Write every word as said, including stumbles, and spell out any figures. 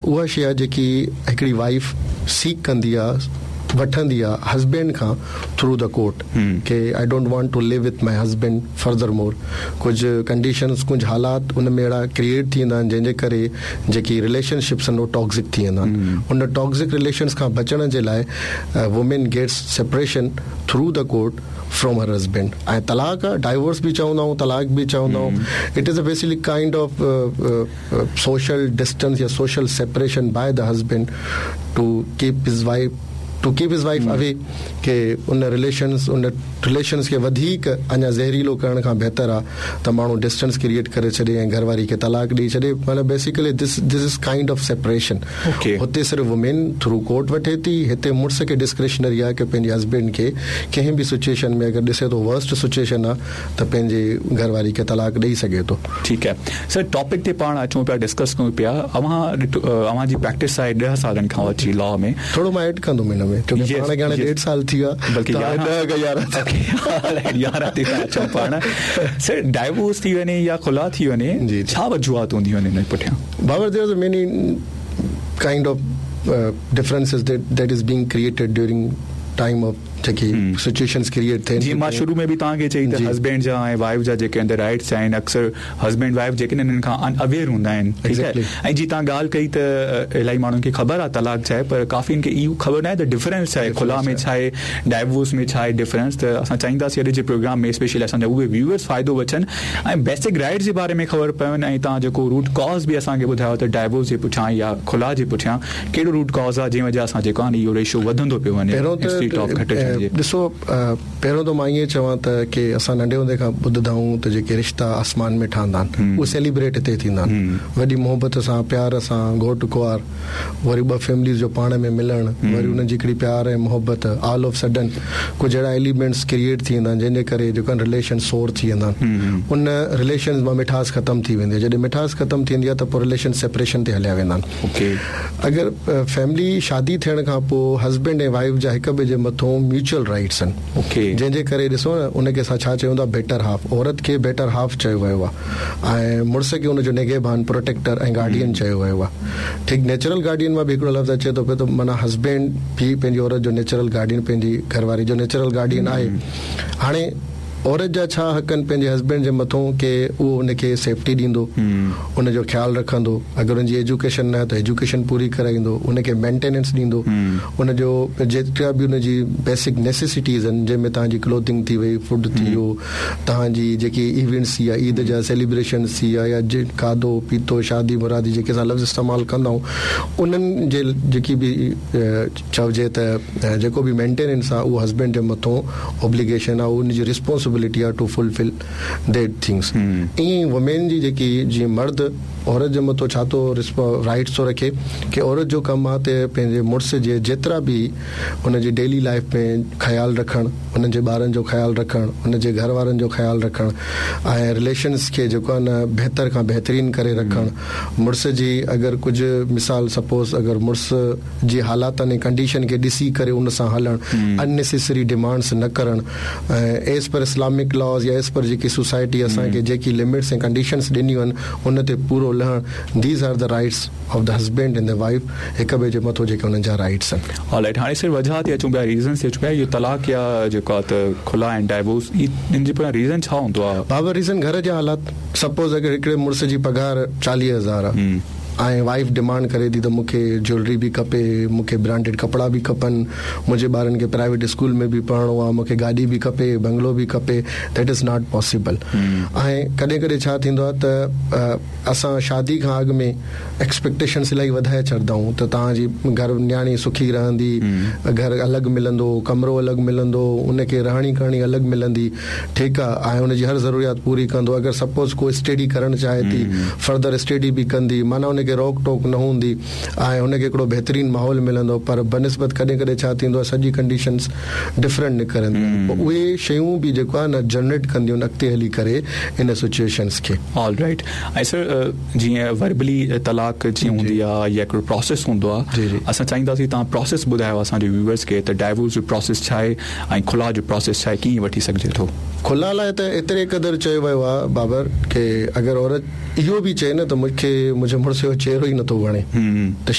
اها شيءِ آهي جيڪي هڪڙي وائيف سيڪ ڪندي آهي، وٺندي آهي هسبينڊ کان through the court K I don't want to live with my husband further more. ڪجهه ڪنڊيشنس، ڪجهه حالات ان ۾ اهڙا ڪريئيٽ ٿي ويندا آهن، جنهن جي ڪري جيڪي رليشنشپس آهن، اهي ٽاڪزڪ ٿي ويندا آهن. ان ٽاڪزڪ رليشنس کان بچڻ جي لاء woman gets separation through the court from her husband. ۽ طلاق آهي، ڊائيورس به چوندا آهيون، طلاق به چوندا آهيون، it is a basically kind of social distance يا social separation by the husband to keep his wife to keep his wife away، K in relations in relations کي وڌيڪ اڃا زهريلو ڪرڻ کان بهتر آهي ته ماڻهو ڊسٽنس ڪريئيٽ ڪري ڇڏي ۽ گهر واري کي طلاق ڏيئي ڇڏي. معنيٰ basically this this is kind of separation. Okay. هتي صرف وومين ٿرو ڪورٽ وٺي ٿي، هتي مڙس کي ڊسڪريشنري آهي ڪه پنهنجي هسبينڊ کي ڪنهن به سچوئيشن ۾ اگر ڏسي ٿو ورسٽ سچوئيشن آهي ته پنهنجي گهر واري کي طلاق ڏيئي سگهي ٿو. ٺيڪ آهي سر، ٽاپڪ تي پاڻ اچون پيا، ڊسڪس ڪيون پيا. اوهان ڏٺو، اوهان جي پريڪٽس آهي ڏهه سالن کان وٺي لا ۾. ٿورو مان ايڊ ڪندم هن ۾ ڇو ڪه پاڻ کي هاڻي ڏيڍ سال ٿي ويو آهي. بلڪه ته هاڻي يارهن ڏهه کان يارهن. يارهن تي ٿا اچون پاڻ. سر، ڊائيورس ٿي وڃي يا خلا ٿي وڃي، جي، جي. ڇا وجوهات هونديون آهن هن پٺيان؟ Babar, there are many kind of uh, differences that that is being created during time of جيڪي سچوئيشنس ڪريئيٽ ٿين. جيئن مان شروع ۾ به توهان کي چئي ته جي. هسبينڊ جا ۽ وائيف جا جيڪي اندر رائٽس آهن، اڪثر هسبينڊ وائيف جيڪي آهن، انهن کان ان اويئر هوندا آهن، ٺيڪ آهي؟ Exactly. ۽ جي توهان ڳالهه ڪئي ته ا، الاهي ماڻهن کي خبر آهي طلاق ڇا آهي، پر ڪافي کي اهو خبر نه آهي ته ڊفرنس ڇا آهي، خلا ۾ ڇا آهي، ڊائيورس ۾ ڇا آهي ڊفرنس. ته اسان چاهينداسين اڄ جي پروگرام ۾ اسپيشلي اسان جا اهي ويوئرس فائدو وٺن ۽ بيسڪ رائٽس جي باري ۾ خبر پون ۽ توهان جيڪو روٽ ڪاز به اسان کي ٻڌايو ته ڊائيورس جي پٺيان يا خلا جي پٺيان ڪهڙو روٽ ڪاز آهي، جنهن وجهه سان جيڪو آهي اهو ريشو وڌندو پيو وڃي پهريون ته instead of گهٽجڻ جي. ڏسو، ا، پهريون ته مان ائين چوان ته ڪه اسان ننڍي هوندي کان ٻڌندا آهيون ته جيڪي رشتا آسمان ۾ ٺهندا آهن، اهي سيليبريٽ هتي ٿيندا آهن وڏي محبت سان، پيار سان. گهوٽ ڪنوار، وري ٻه فيمليز جو پاڻ ۾ ملڻ، وري انهن جي هڪڙي پيار ۽ محبت، آل آف سڊن ڪجهه اهڙا ايليمينٽس ڪريئيٽ ٿي ويندا آهن، جنهن جي ڪري جيڪو آهن رليشن سور ٿي ويندا آهن. ان رليشن مان مٺاس ختم ٿي ويندي آهي. جڏهن مٺاس ختم ٿيندي آهي ته پوءِ رليشن سيپريشن تي هليا ويندا آهن. اوڪي اگر فيملي شادي ٿيڻ کان پوءِ هسبينڊ ۽ وائيف جا هڪ ٻئي جي مٿان ميوچل رائٽس آهن، اوڪي جنهن جي ڪري ڏسو نه، ان کي اسان ڇا چئون ٿا؟ Better half. عورت کي بيٽر هاف چيو ويو آهي ۽ مڙس کي ان جو نگهبان، پروٽيڪٽر ۽ گارڊين چيو ويو آهي. ٺيڪ، نيچرل گارڊين مان به هڪڙو لفظ اچي ٿو پيو ته معنيٰ هسبينڊ به پنهنجي عورت جو نيچرل گارڊين، پنهنجي گهر واري جو نيچرل گارڊين آهي. هاڻي عورت جا ڇا حق آهن پنهنجي هسبينڊ جي مٿان؟ ڪه اهو هن کي سيفٽي ڏيندو، ان جو خيال رکندو، اگر هن جي ايجوڪيشن نه آهي ته ايجوڪيشن پوري ڪرائيندو، ان کي مينٽيننس ڏيندو، ان جو جيترا به ان جي بيسڪ نيسيسٽيز آهن، جنهن ۾ توهان جي ڪلوٿنگ ٿي وئي، فوڊ ٿي ويو، توهان جي جيڪي ايونٽس ٿي ويا، عيد جا سيليبريشنس ٿي ويا، يا جي کاڌو پيتو، شادي مرادي جيڪي اسان لفظ استعمال ڪندا آهيون، انهن جي جيڪي به چئجي ته جيڪو به مينٽيننس آهي، اهو هسبينڊ جي مٿان اوبليگيشن آهي، ان جي ريسپانسبلٽي آهي ٽو فلفل that things. ائين ئي وومين جي جيڪي، جيئن مرد عورت جي مٿان ڇا ٿو رائٽس ٿو رکي ڪه عورت جو ڪم آهي ته پنهنجي مڙس جي جيترا به هن جي ڊيلي لائيف ۾ خيال رکڻ، هن جي ٻارن جو خيال رکڻ، هن جي گهر وارن جو خيال رکڻ ۽ رليشنس کي جيڪو آهي نه بهتر کان بهترين ڪري رکڻ. مڙس جي اگر ڪجهه مثال سپوز اگر مڙس جي حالاتن ۽ ڪنڊيشن کي ڏسي ڪري ان سان هلڻ، اننيسيسري ڊمانڊس نه ڪرڻ ۽ ايز پر اسلامڪ لاز يا ايز پر جيڪي سوسائٽي اسان کي جيڪي لمٽس ۽ ڪنڊيشنس ڏنيون آهن، ان تي پورو لهڻ. These are the rights of the husband and the wife، هڪ ٻئي جي مٿان جيڪي انهن جا رائٽس آهن. آل رائٽ، هاڻي صرف وجهه تي اچون پيا، ريزنس تي اچون پيا. اهو طلاق يا جيڪو آهي ته خلا ۽ ڊائيورس، ان جي پٺيان ريزن ڇا هوندو آهي؟ بابا، ريزن گهر جا حالات. سپوز اگر هڪڙي مڙس جي پگهار چاليهه هزار آهي ۽ وائيف ڊمانڊ ڪري ٿي ته مون کي جيولري به کپي، مون کي برانڊيڊ ڪپڙا به کپن، منهنجي ٻارن کي پرائيويٽ اسڪول ۾ به پڙهڻو آهي، مون کي گاڏي به کپي، بنگلو به کپي، that is not possible. ۽ ڪڏهن ڪڏهن ڇا ٿيندو آهي ته اسان شادي کان اڳ ۾ ايڪسپيڪٽيشنس الاهي وڌائي ڇڏيندا آهيون ته توهان جي گهر نياڻي سکي رهندي، گهر الڳ ملندو، ڪمرو الڳ ملندو، ان کي رهڻي ڪرڻي الڳ ملندي، ٺيڪ آهي، ۽ هن جي هر ضروريات پوري ڪندو. اگر سپوز ڪو اسٽڊي ڪرڻ چاهي ٿي، فردر اسٽڊي به ڪندي، معنيٰ هن کي روڪ ٽوڪ نه هوندي ۽ هن کي هڪڙو بهترين ماحول ملندو. پر بنسبت ڪڏهن ڪڏهن ڇا ٿيندو آهي، سڄي ڪنڊيشنس ڊفرنٽ نڪرنديون آهن. پوءِ اهي شيون به جيڪو آهي نه جنريٽ ڪنديون آهن اڳتي هلي ڪري ان سچوئيشنس کي. آل رائٽ، ۽ سر، جيئن وربلي طلاق جيئن هوندي آهي يا هڪڙو پروسيس هوندو جي، آهي، جي. اسان چاهينداسين توهان پروسيس ٻڌايو اسان جي ويوئرس کي ته ڊائيورس جو پروسيس ڇا آهي ۽ خلا جو پروسيس ڇا آهي، ڪيئن وٺي سگهجي ٿو؟ خلا لاءِ ته ايتري قدر چيو ويو آهي بابر ڪه اگر عورت اهو به چئي نه ته مون کي منهنجي مڙس جو چهرو ئي نٿو وڻي ته